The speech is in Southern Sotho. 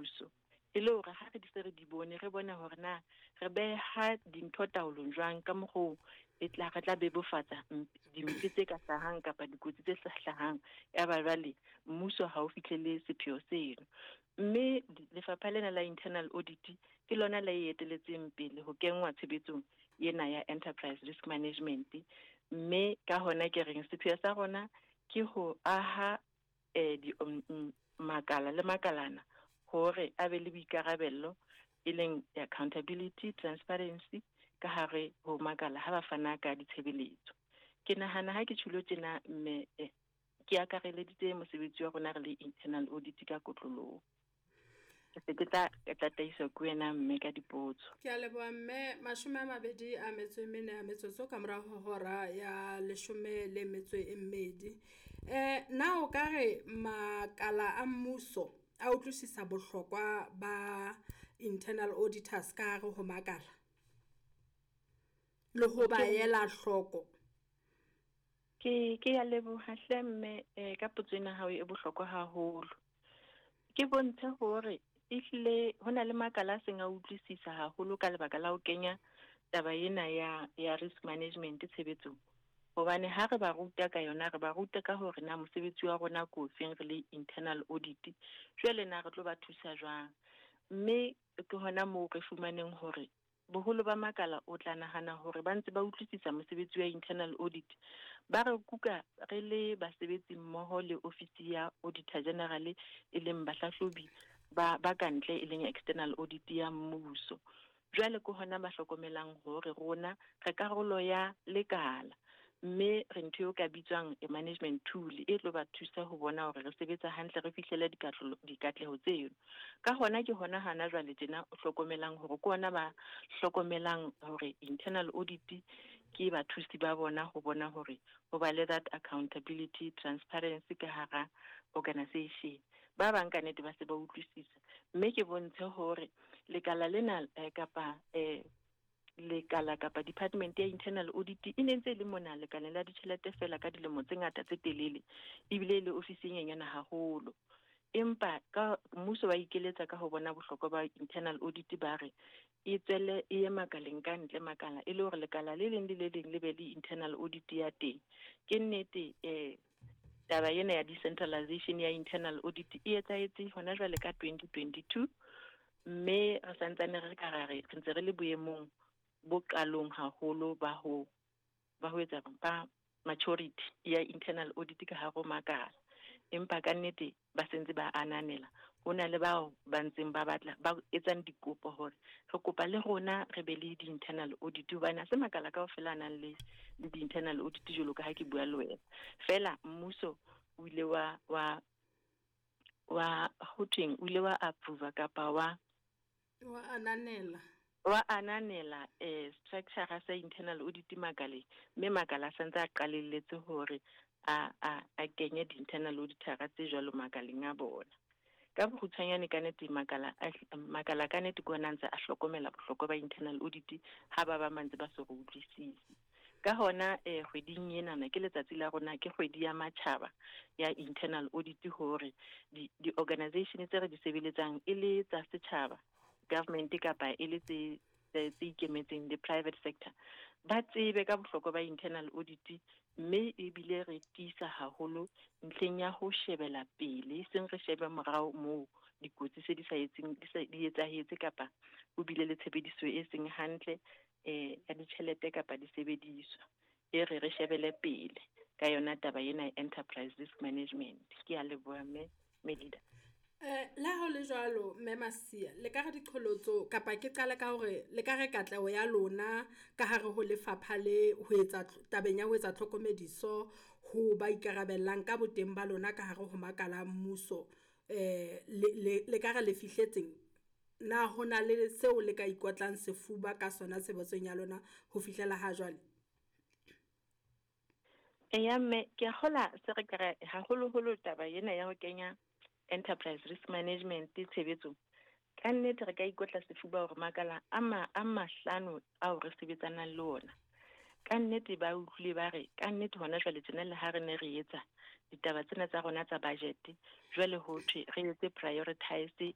mmuso. E le hore ha re di se re di bone, re bone hore na re beha dintho taolong jwang ka mokgoo e tla re tla bebofatsa dimpe tse ka hlahang kapa dikotsi tse hlahang. Ya ba jwale mmuso ha o fihlele sepheo seno. Mme lefapha lena la internal audit ke lona la e eteletseng pele ho kenngwa tshebetsong ena ya enterprise risk management. Mme ka hona ke reng sepheo sa rona ke ho aha di makala le makalana hore a be le boikarabello, e leng accountability, transparency ka hare ho makala ha ba fana ka ditshebeletso. Ke nahana ha ke tjhulo tjena mme ke akareleditse mosebetsi wa rona re le internal audit ka kotloloho. Ke se ke tla tataiswa ke wena mme ka dipotso. Ke a leboha mme, 24 ya metsotso ka mora ho hora ya 12. Na o ka re makala a mmuso a utlwisisa bohlokwa ba internal auditors ka hare ho makala le ho ba ela hloko? Ke ya leboha hle mme ka potso ena hao e bohlokwa haholo. Ke bontshe hore ehlile ho na le makala a seng a utlwisisa haholo ka lebaka la ho kenya taba ena ya risk management tshebetsong. Hobane ha re ba ruta ka yona, re ba ruta ka hore na mosebetsi wa rona ke ofeng re le internal audit, jwale na re tlo ba thusa jwang. Mme ke hona moo re fumaneng hore boholo ba makala o tla nahana hore ba ntse ba utlwisisa mosebetsi wa internal audit. Ba re kuka re le basebetsi mmoho le ofisi ya Auditor General, e leng bahlahlobi ba kantle, e leng external audit ya mmuso. Jwale ke hona ba hlokomelang hore rona re karolo ya lekala, mme re ntho eo ka bitswang a management tool e tlo ba thusa ho bona hore re sebetsa hantle, re fihlele dikatleho tseo. Ka hona ke hona hana jwale tjena o hlokomelang hore ke hona ba hlokomelang hore internal audit ke bathusi ba bona ho bona hore ho ba le that accountability, transparency ka hara organization. Ba bang ka nnete ba se ba utlwisisa. Mme ke bontshe hore lekala lena kapa lekala kapa department ya internal audit e ne ntse e le mona lekaleng la ditjhelete fela ka dilemo tse ngata tse telele, ebile le ofisi e nyenyana haholo. Empa ka mmuso wa ikeletsa ka ho bona bohlokwa ba internal audit, ba re e tswele e ye makaleng ka ntle makala, e le hore lekala le leng le le leng le be le internal audit ya teng. Ke nnete taba ena ya decentralization ya internal audit e etsahetse hona jwale ka 2022, mme re santsane re ka ra re ntse re le boemong bo qalong haholo ba ho etsa ba maturity ya internal audit ka hare ho makala. Empa ka nnete ba sentse ba ananela, ho na le bao ba ntseng ba batla ba etsang dikopo hore re kopa le rona re be le di-internal audit, hobane ha se makala kaofela a nang le di-internal audit jwalo ka ha ke bua le wena. Fela mmuso o ile wa ho thweng, o ile wa approve kapa wa ananela structure sa internal audit makaleng, mme makala a santse a qalelletse hore a kenye di-internal auditor tse jwalo makaleng a bona. Ka bokgutshwanyane ka nnete makala ka nnete ke ona ntse a hlokomela bohlokwa ba internal audit ha ba bang ba ntse ba so re utlwisise. Ka hona kgweding enana ke letsatsi la rona, ke kgwedi ya matjhaba ya internal audit, hore di-organization tse re di sebeletsang e le tsa setjhaba, government kapa e le tse ikemetseng le private sector, ba tsebe ka bohlokwa ba internal audit, mme ebile re tiisa haholo ntlheng ya ho shebela pele, e seng re shebe morao moo dikotsi se di sa etseng di etsahetse kapa ho bile le tshebediso e seng hantle ya ditjhelete kapa disebediswa. E re shebele pele ka yona taba ena ya enterprise risk management. Ke a leboha mme Melida. La ho le jwalo mme Masia, le ka re diqholotso kapa ke qale ka hore le ka re katleho ya lona ka hare ho lefapha le ho etsa tabeng ya ho etsa tlhokomediso ho ba ikarabellang ka boteng ba lona ka hare ho makala a mmuso, le ka re le fihletseng? Na ho na le seo le ka ikotlang sefuba ka sona tshebetsong ya lona ho fihlela ha jwale? Eya mme, ke a kgola se re ka re haholoholo taba ena ya ho kenya enterprise risk management tshebetsong. Ka nnete re ka ikotla sefuba hore makala a mahlano ao re sebetsanang le ona, ka nnete ba utlwile ba re ka nnete hona jwale tjena le ha re ne re etsa ditaba tsena tsa rona tsa budget, jwale ho thwe re etse prioritize